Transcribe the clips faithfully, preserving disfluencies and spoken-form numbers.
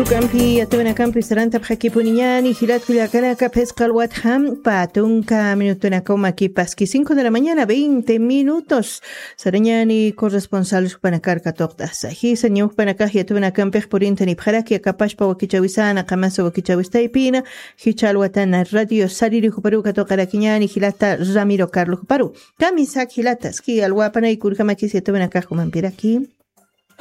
Ukampi yatawinakampi sarantapxakipuniñani jilat kullakanaka, phisqa alwatxa pä tunka minutunakaw makipaski, cinco de la mañana, veinte minutos. Sarañani corresponsal jupanakar katuqt'asa. Jisa ñawjpanakax yatawinakampix purintanipxaraki, akapashpa wakichawisana, qamasa wakichawistaypina, jichha alwatana radio sariri juparu katuqarakiñani jilata Ramiro Carlos juparu. Kamisak jilata, aski alwapanay kurkamakis yatawinakax jumampiraki.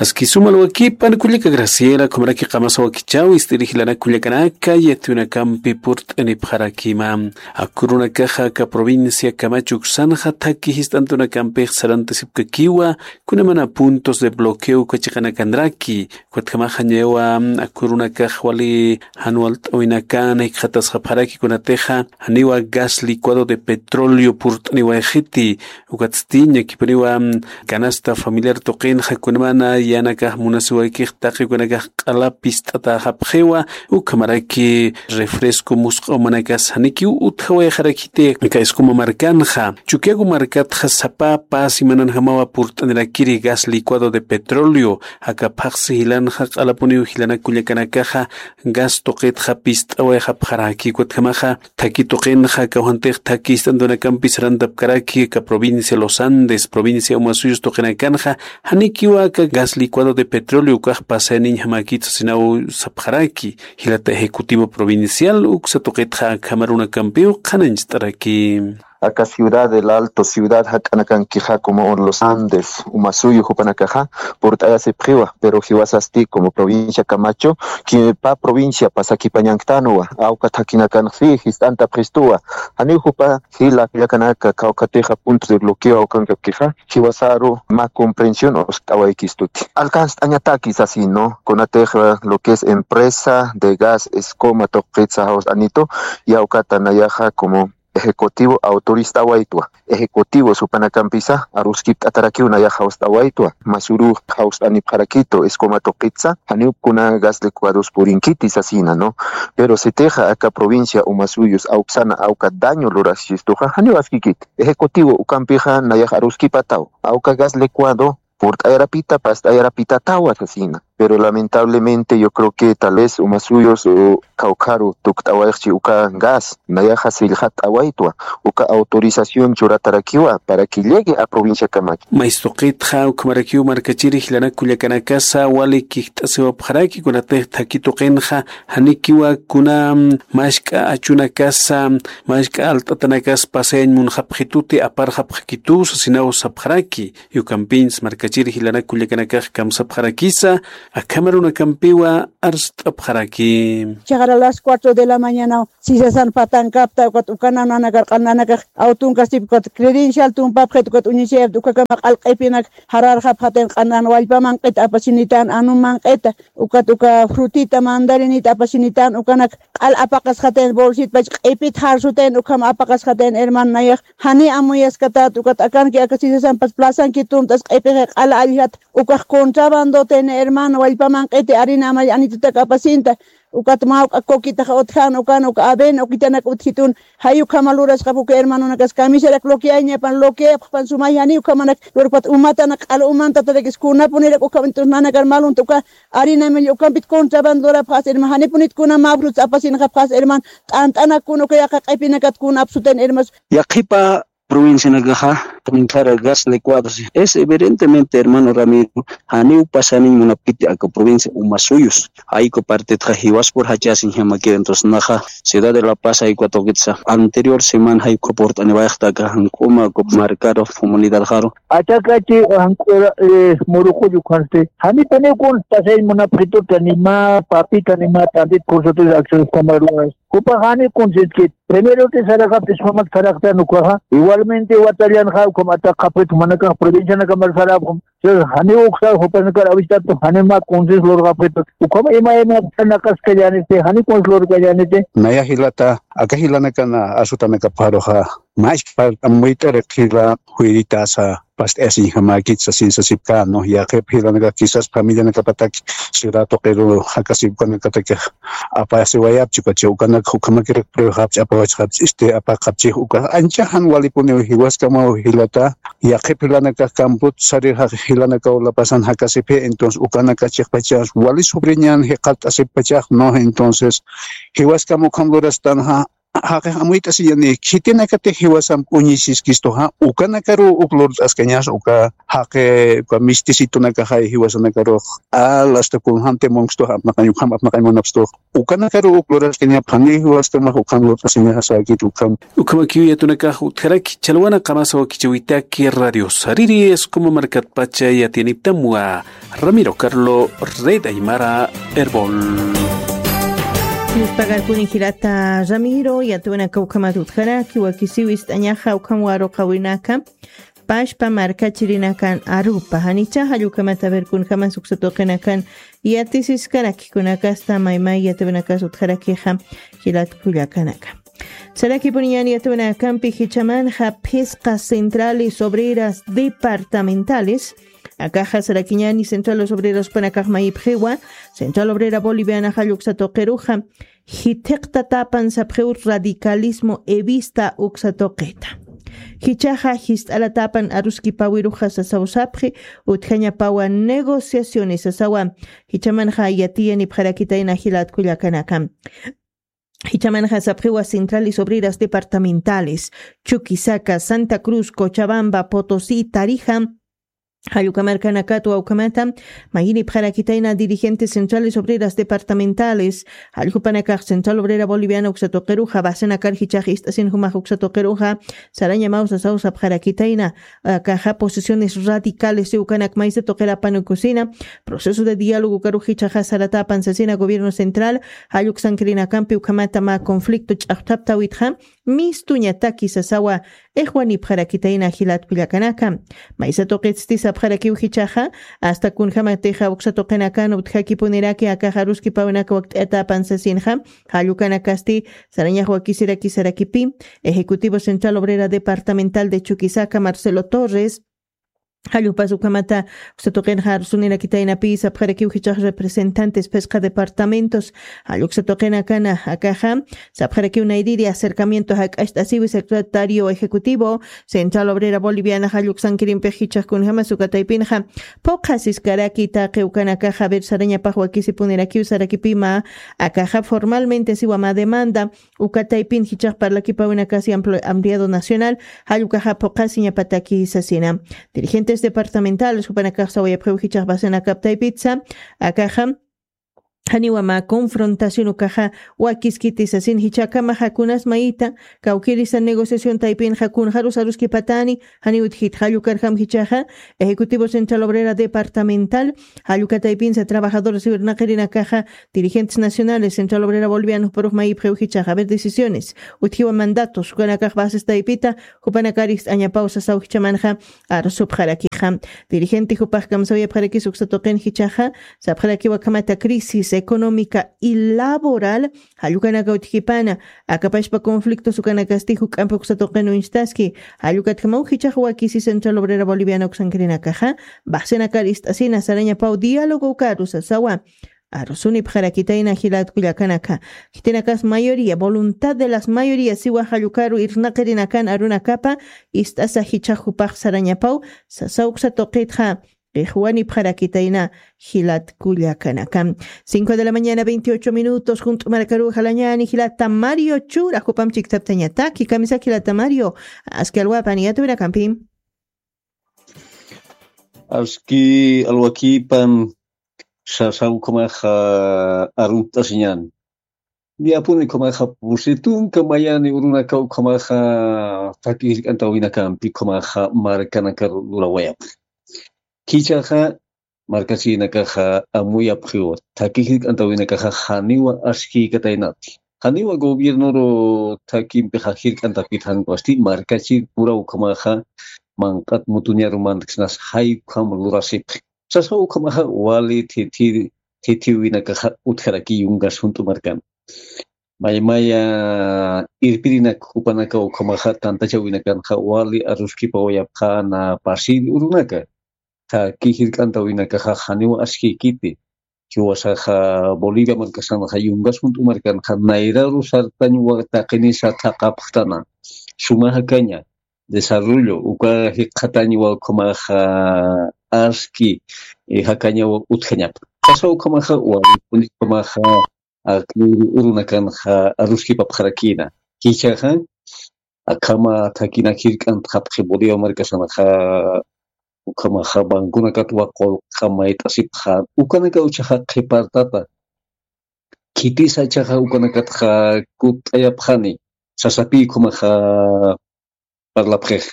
Aski suma alwakipan kullaka Graciela, ukhamaraki qamasa wakichaw ist'iri jilanak kullakanaka, yatawinakampi purt'anipxarakima. Akurunakaxa aka provincia Camacho uksanxa thaki jist'antunakampix sarantasipkakiwa, kunamana puntos de bloqueo uka chiqanakanraki, ukatjamaxa ñawa akurunakax wali jan walt'awinakan jikxatasxapxaraki kunatixa janiwa gas licuado de petróleo purt'aniwayxiti, ukatsti ñakipuniwa canasta familiar tuqinxa kunamana yanakax munasiwaykix taqi ukanakax q'ala pist'atäxapxiwa, ukhamaraki refresco musq'awmanakas janikiw utjawayxarakiti aka Escoma markanxa. Chukiyawu markatxa sapa pä simananjamawa purt'anirakiri gas licuado de petróleo, aka phaxsi jilanxa q'alapuniw jilanak kullakanakaxa gas tuqitxa pist'awayxapxaraki, ukatjamaxa thaki tuqinxa kawjantix thaki jist'antunakampi sarantapkaraki aka provincia Los Andes, provincia Omasuyos tuqinakanxa, janikiwa aka gas licuado de petróleo ukax pasayaniñjamakit sasinaw sapxaraki. Jilata ejecutivo provincial uksa tuqitxa akham arunakampiw qhanañcht'araki. Aka ciudad del Alto, ciudad jak'anakankixa como Los Andes, Umasuyu jupanakaxa purt'ayasipxiwa, pero jiwasasti como provincia Camacho, ki-, pä provincia pasakipañanktanwa, awka thakinakanxsi jist'antapxistuwa, janiw jupa jila kullakanaka kawkhatixa puntos de bloqueo awkankapkixa, jiwasaru mä comprensión usk'awaykistuti. Alcanzt'añataki sasi, ¿no? Kunatixa lo que es empresa de gas Escoma tuqitsa jawst'anitu, yawkata nayaxa como ejecutivo autorist'awaytwa. Ejecutivo jupanakampisa aruskipt'atarakiw nayax jawst'awaytwa. Masuru jawst'anipxarakitu Escoma tuqitsa, janiw kuna gas licuados purinkiti sasina, ¿no? Pero sitixa aka provincia Umasuyus awksana awka daño lurasistuxa, janiw askikiti. Ejecutivo ukampixa nayax aruskipataw. Awka gas licuado purt'ayarapita, past'ayarapitatawa sasina. Pero lamentablemente yo creo que tal vez Umasuyus, uh, kawkharu tukt'awayxchi uka gas, nayaxa sillxat'awaytwa, uka autorización churatarakiwa para que llegue a provincia Camacho. Maystuqitxa ukhamarakiw markachiri jilanak kullakanakasa wali kijt'asiwapxaraki, kunatix thaki tuqinxa janikiwa kuna, mm, mask'a achunakasa, mask'a alt'atanakas pasayañ munxapxituti, aparxapxakitu sasinaw sapxaraki. Yukampins markachiri jilanak kullakanakax kamsapxarakisa, akham arunakampiwa arst'apxaraki. Chaxara las cuatro de la mañana, sisasan patankapta, ukat ukana nanakar q'al nanakax awtunkasip, ukat credencial tumpapxit, ukat uñichayapta, ukakama q'al q'ipinak jararxapxatin q'anan wallpa manq'ita apasinitan, anum manq'ita, ukat uka frutita mandarinita apasinitan, ukanak q'al apaqasxatin bolsitpach q'ipit jarsutayn, ukham apaqasxatin hermano nayax, jani amuyaskatat, ukat akanki aka sisasampas plazanki tumt'as q'ipixi q'ala alljat, ukax contrabandotin hermano, wallpa manq'iti harina amay anitutak apasinta, ukat mawk'a coquitax utjan, ukan uka avena ukitanak utjitun, jay ukhama lurasxap uka hermanonakas kamisarak bloqueañapan, bloqueapxpan sumay jani ukhamanak lurpat umatanak q'al umantatarakis kunapunirak ukham entonces nanakar malunta uka harina amay ukampit contrabandorapxas hermano, janipunit kuna mä frutas apasinxapxas hermano, t'ant'anak kuna uka yaqa q'ipinakat kuna apsutan hermanos. Yaqhipa provincianakaxa, ninkhara gas licuados. Es evidentemente, hermano Ramiro, janiw pasaniñ munapkiti aka provincia Umasuyus. Jayku partetxa jiwaspur jachasiñjamakir, entonces naxa ciudad de La Paz jayku atuqitsa. Anterior semana jayku purt'aniwayxta aka Jank'uma, aka marcaro, comunidad jaro. Achakachi Jank'ura, eh, Muruqullu khansti. Janipuniw kun pasay munapxituta, ni mä papita, ni mä t'antit cursotis acciones camaruas. Jupax jani kunsiskit. Primero que saraqapis jumat saraqtan ukaxa. Igualmente watallanxa ukham ataqapxit jumanakax provincianakamar sarapxum. Entonces, jani uksa jupanakar avistatu, jani mä kunsis lurqapxitu. Ukham ima ima naqaskallaniti, jani kunsis lurkallaniti. Naya jilata, aka jilanakana asutanakapxaruxa. Maski partamuyt'ari qhila juyrita asa past'ayasiñjamäkit sasin sasipkänwa. Yaqhip jilanakax quizás familianakapatak ciudad tuqiru jakasip ukanakatak apasiwayapchi ukachi ukanak ukhamakiraq pruebajapchi apawachxapchi este apaqapchix uka ancha jan walipuniw jiwaskamaw jilata. Yaqhip jilanakax campot sarixax jilanakaw lapasan jakasiphi entonces ukanakax chiqpachas wali sobriñan jiqat'asippachax no entonces jiwaskam ukham lurastanxa. Jaqix amuyt'asiñani khitinakatix jiwasamp uñisiskistuxa ukanakaruw uk lurt'askañas uka jaqi uka mistisitunakaxay jiwasanakarux al asta kunjamti munksituxa apnaqañ ukham apnaqañ munapstux ukanakaruw uk luraskañap janiw jiwaskamax ukham lurt'asiñaxa säkit ukham. Ukhamakiw yatunakax utjaraki chalwana qamasa wakichäwitaki radio sariri esquma markatpacha yatiyaniptamwa. Ramiro Carlo, Red Aymara, Erbol. Yuspagarkuni jilata Ramiro, yatuwanaka ukhamat utjaraki wakisiw ist'añaxa ukham waruqawinaka pashpa markachirinakan arupa janicha jallukhamat averkunjamas uksatuqinakan yatisiskaraki kunakasta maymay yatuwinakas utjarakixa jilat kullakanaka. Sarakipuniñan yatuwinakampi jichamanxa phisqa centrales obreras departamentales akaxa sarakiñani centrales obreras panakax mayipxiwa central obrera boliviana jalluksa tuqiruxa jithiqtatapan sapxiw radicalismo evista uksa tuqita. Jichaxa jist'alatapan aruskipawiruxa sasaw sapxi utjañapawa negociaciones sasawa. Jichamanxa yatiyanipxarakitayna jilat kullakanaka. Jichamanxa sapxiwa centrales obreras departamentales, Chuquisaca, Santa Cruz, Cochabamba, Potosí, Tarija, jallukhamarkanakatwa ukhamata mayinipxarakitayna dirigentes centrales obreras departamentales jallukhupanakax central obrera boliviana uksatuqiruxa basenakar jichax ist'asin jumax uksatuqiruxa sarañamaw sasaw sapxarakitayna. Akaxa posiciones radicales ukanak maysa tuqirapan ukusina proceso de diálogo ukarux jichaxa saratapan sasina gobierno central jalluksankirinakampi ukhamata mä conflicto ch'axthaptawitxa. Mistuñataki sasawa ixwanipxarakitayna jilat kullakanaka. Maysa tuqitsti sapxarakiw jichaxa asta kunjamatixa uksa tuqinakan utjakipuniraki akaxa aruskipawinaka wakt'ayatapan sasinxa jallukanakasti sarañax wakisiraki sarakipi ejecutivo central obrera departamental de Chuquisaca Marcelo Torres, jallupas ukhamata uksatuqinxa arsunirakitaynapi sapxarakiw jichax representantes phisqa departamentos jalluksatuqinakana akaxa sapxarakiw nayriri acercamiento jak'acht'asiwi secretario ejecutivo central obrera boliviana jalluksankirimpix jichax kunjama sukataypinxa phuqhasiskaraki taqi ukanakaxa ver sarañapax wakisipunirakiw sarakipima akaxa formalmente siwama demanda. Ukataypin jichax parlakipäwinakasi ampliado nacional jallukaxa phuqhasiñapataki sasina dirigentes departamentales jupanakax sawayapxiw jichax basenakaptaypitsa akaxa janiwa mä confrontación ukaxa wakiskiti sasin jichhakamaxa kunas mayita kawkirisa negociación taypinxa kunxarus aruskipatani janiw utjit jallukarjam jichaxa ejecutivo central obrera departamental jallukataypinsa trabajadores irnaqirinakaxa dirigentes nacionales central obrera boliviana juparux mayipxiw jichaxa ver decisiones utjiwa mandatos ukanakax bases taypita jupanakar ist'añapaw sasaw jichamanxa arsupxarakixa. Dirigente jupax kamsawayapxarakis uksa tuqin jichaxa sapxarakiw akhamata crisis económica y laboral jallukanaka utjkipana akapashpa conflictos ukanakasti juk'ampi uksa tuqin uñstaski jallukatjamaw jichax wakisi central obrera boliviana uksankirinakaxa baxsinakar ist'asina sarañapaw diálogo ukaru sasawa. Arusunipxarakitayna jilat kullakanaka jitinakas mayoría voluntad de las mayorías siwa jallukaru irnaqirinakan arunakapa ist'asa jichax jupax sarañapaw sasa uksa tuqitxa ixwanipxarakitayna jilat kullakanaka. Cinco de la mañana veintiocho minutos junt'u markaru jalañani jilata mario chura jupam chikthaptañataki kamisaki jilata mario aski alwapan yatuwinakampi. Aski alwakipan sasa ukhamaxa arunt'asiñan. Niyapuni ukhamaxa pusi tunka mayani urunaka ukhamaxa thaki jirk'antawinakampi ukhamaxa markanaka lurawayapxi. Khichaxa markachirinakaxa amuyapxiwa thaki jirk'antawinakaxa janiwa askïkataynati janiwa gobiernoru thakimpixa jirk'antapkit jank'asti markachir pura ukhamaxa manq'at mutuñaru mantkasnas jay ukham lurasipxi. Sasa ukhamaxa wali thithiwinakaxa utjaraki yungas junt'u markan. Maymaya irpirinak jupanaka ukhamaxa tantachawinakanxa wali aruskipawayapxäna pasir urunaka. Thaki jirk'antawinakaxa janiw askïkiti. Jiwasaxa Bolivia markasanxa yungas junt'u markanxa nayraru sartañ taqinisa thaqhapxtana. Suma jakaña desarrollo uka jikxatañwa ukhamaxa aski, eh, jakañawa utjañapa. Kasa ukhamaxa wali ukhamaxa aki urunakanxa aruskipapxarakïna. Jichhaxa akhama thakinak jirk'antxapxi Bolivia markasanxa ukhamaxa banconakatwa qullqi mayt'asipxä. Ukanaka uchaxa qhipartata. Khitisa jichhaxa ukanakatxa kutt'ayapxani. Sasapï ukhamaxa parlapxix.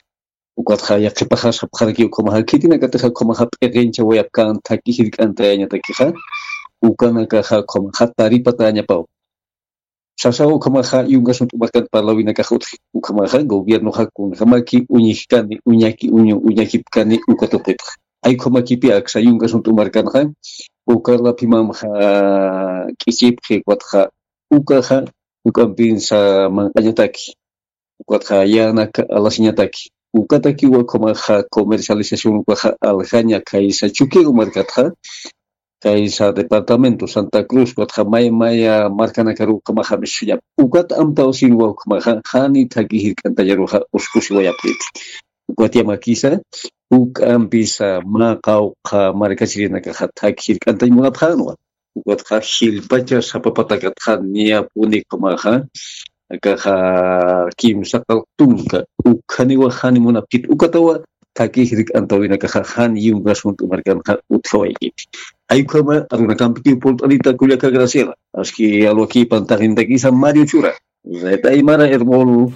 Ukatxa yaqhipaxa sapxaraki ukhamaxa khitinakatixa ukhamaxa p'iqinchawayapkän thaki jirk'antayañatakixa. Ukanakaxa ukhamaxa taripatäñapaw. Sasaw ukhamaxa yungas junt'u markan parlawinakax utji. Ukhamaxa gobiernoxa kunjamaki uñjkani, uñaki uñu, uñakipkani uka tuqitxa. Ay ukhamakipï aksa yungas junt'u markanxa, ukarlapimamxa k'ichipxi ukatxa, ukaxa, ukampinsa manq'añataki. Ukatxa yänak alasiñataki. Ukatakiwa ukhamaxa comercialización ukaxa aljaña khaysa Chukiyawu markatxa, khaysa departamento Santa Cruz, ukatxa may maya markanakaru ukhamaxa misuñap. Ukat amtaw sinwa ukhamaxa, jani thaki jirk'antañaruxa uskusiwayapxiti. Ukat yamakisa, ukampisa mä qawqha markachirinakaxa thaki jirk'antañ munapxänwa. Ukatxa jilpacha sapa patakatxa niyapuni ukhamaxa, akaxa kimsa qallq tunka, ukhaniwa jani munapkiti, ukatawa thaki jirk'antawinakaxa jan yungas junt'u markanxa utjawaykiti. Ay ukhama arunakampitiw pult'anita kullaka Graciela, aski alwakïpan taqintakisa Mario Chura. Red Aymara Hermol.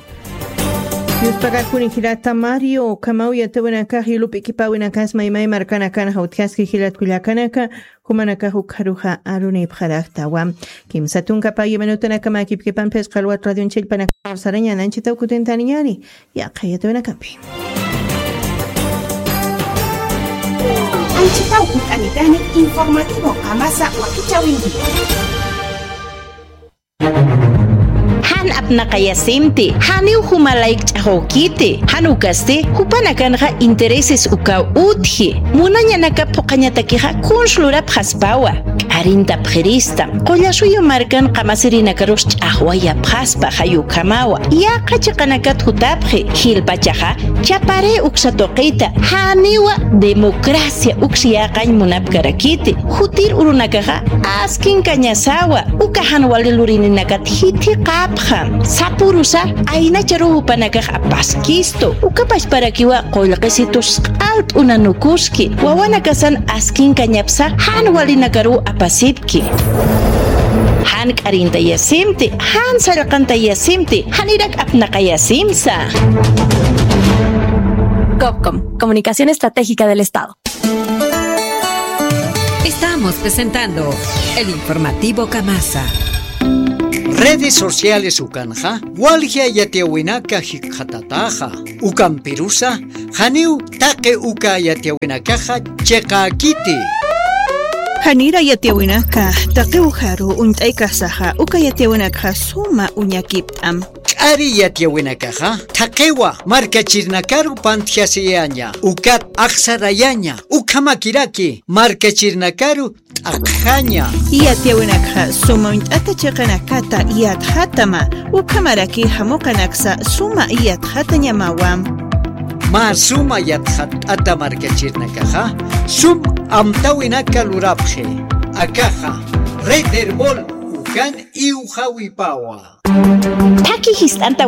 Yuspagarkuni jilata Mario, ukhamaw yatiyäwinakax yulup'ikipäwinakas maymay markanakanxa utjaski jilat kullakanaka, jumanakax ukxaruxa arunipxaraktawa. Kimsa tunka pagi minutanakamakipkipan phisqa alwat radioñ chillpanakax sarañan anchitaw kutintaniñäni, yaqha yatiyäwinakampi. Anchitaw kut'anitani informativo Qamasa wakichäwinki. Jan apnaqayasimti, janiw jumalayk ch'axwkiti, jan ukasti, jupanakanxa intereses ukaw utji, munañanaka phuqhañatakixa kuns lurapxaspawa, k'arintapxirista, Qullasuyu markan qamasirinakarusa ch'axwayapxaspa jay ukhamawa, yaqha chiqanakat jutapxi, jilpachaxa, chapari uksa tuqita, janiwa democracia uks yäqañ munapkarakiti, jutir urunakaxa, askinkañasawa, uka jan wali lurininakat jithiqapxam, sapurusa, aynacharuw jupanakax apaskistu, uka pachparakiwa qullqisitus q'alt'unanukuski, wawanakasan askinkañapsa, jan walinakaruw apasipki. Jan k'arintayasimti, jan sallqantayasimti, janirak apnaqayasimsa. Copcom, Comunicación Estratégica del Estado. Estamos presentando el informativo Kamasa. Redes sociales ukanxa, walja yatiyäwinaka jikxatataxa, ukampirusa, janiw taqi uka yatiyäwinakaxa chiqäkiti. Janira yatiyäwinaka, taqi ujaru uñt'aykasaxa, uka yatiyäwinakaxa suma uñakipt'am. K'ari yatiyäwinakaxa, thaqiwa markachirinakaru pantjasiyaña, ukat axsarayaña, ukhamakiraki, markachirinakaru t'aqjaña. Yatiyäwinakxa suma uñt'ata chiqanakata yatxatama, ukhamaraki jamuqanaksa suma yatxatañamawa. Mä suma yatxat'ata markachirinakaxa, sum amtawinaka lurapxi. Akaxa, Red Erbol, ukan iwxawipawa. Thaki jist'anta